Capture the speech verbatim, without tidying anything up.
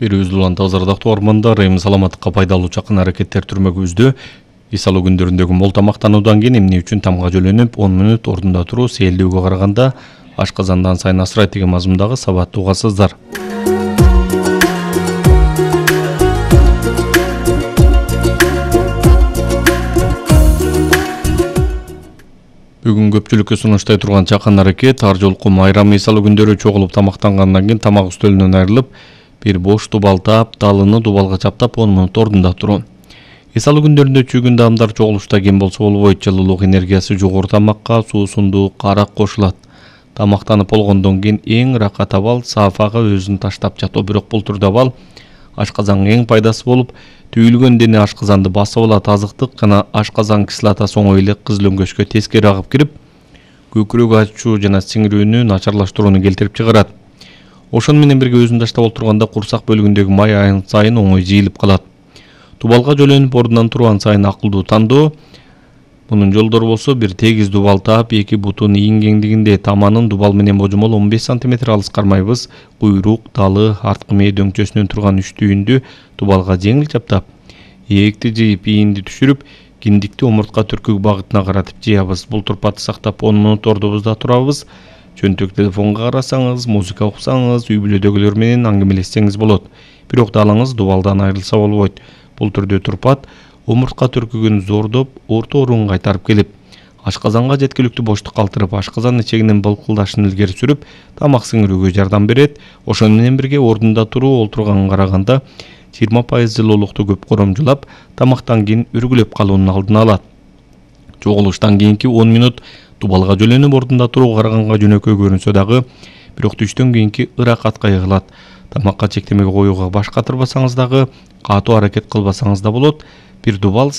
Берүүбүз улан тазардактуу ормондар эми саламаттыкка пайдалуу чакан аракеттер түрмөгүбүздө эс алуу күндөрүндөгү мол тамактануудан кийин эмне үчүн тамга жөлөнүп он мүнөт ордунда туруу сээлдөөгө караганда ашказандан сайын асырайт деген мазмундагы сабатты угасыздар. Бүгүн көпчүлүккө сунуштай турган чакан аракет ар жолку майрам эс алуу күндөрү чогулуп тамактангандан кийин тамак үстөлүнөн айрылып бир бош дубал таап, далыны дубалга чаптап он мүнөт ордунда туруу. Эс алуу күндөрүндө чүйгүндө адамдар чогулушта кем болсо болбойт. Жылуулук энергиясы жогору тамакка суусундук, арак кошулат. Тамактанып болгондон кийин эң ыракат абал саафага өзүн таштап жатуу. Бирок бул түрдө абал ашказанга эң пайдасы болуп, түйүлгөн дене ашказанды басып алат. Азыктык жана ашказан кислотасы оңой эле кызыл өңгөчкө тескери агып кирип, көкүрөк ачуу жана сиңирүүнү начарлаштырууну келтирип чыгарат. Ошону менен бирге өзүн таштап отурганда курсак бөлүгүндөгү май айын сайын оңой жыйылып калат. Дубалга жөлөнүп ордунан турган сайын акылдуу тандоо. Мунун жолдору болсо бир тегиз дубал таап, эки бутун ийин кеңдигинде таманын дубал менен божомол он беш сантиметр алыс кармайбыз. Куйрук, далы, арткы мээ дөңчөсүнөн турган үч түйүндү дубалга жеңил чаптап, ээкти жыйып, ийинди түшүрүп, киндикти омуртка түркүк багытына каратып жыябыз. Бул турпатты сактап он мүнөт ордубузда турабыз. Чөнтөк телефонго карасаңыз, музыка уксаңыз, үй бүлөдөгүлөр менен аңгемелешсеңиз болот. Бирок далыңыз дубалдан айрылса болбойт. Бул түрдө турпат омуртка түркүгүн зордоп, орто орунга кайтарып келип, ашказанга жеткиликтүү боштук калтырып, ашказан ичегинин былкылдашын илгери сүрүп, тамак сиңирүүгө жардам берет. Ошону менен бирге ордунда туруу олтурганга караганда жыйырма пайыз жылуулукту көп коромжулап, тамактан кийин үргүлөп калуунун алдын алат. Чогулуштан кийинки он мүнөт дубалга жөлөнүп ордунда турууга караганга жөнөкөй көрүнсө дагы, бирок түштөн кийинки ыракатка ыгылат. Тамакка чектемеге коюуга баш катырбасаңыз дагы, катуу аракет кылбасаңыз да болот. Бир дубал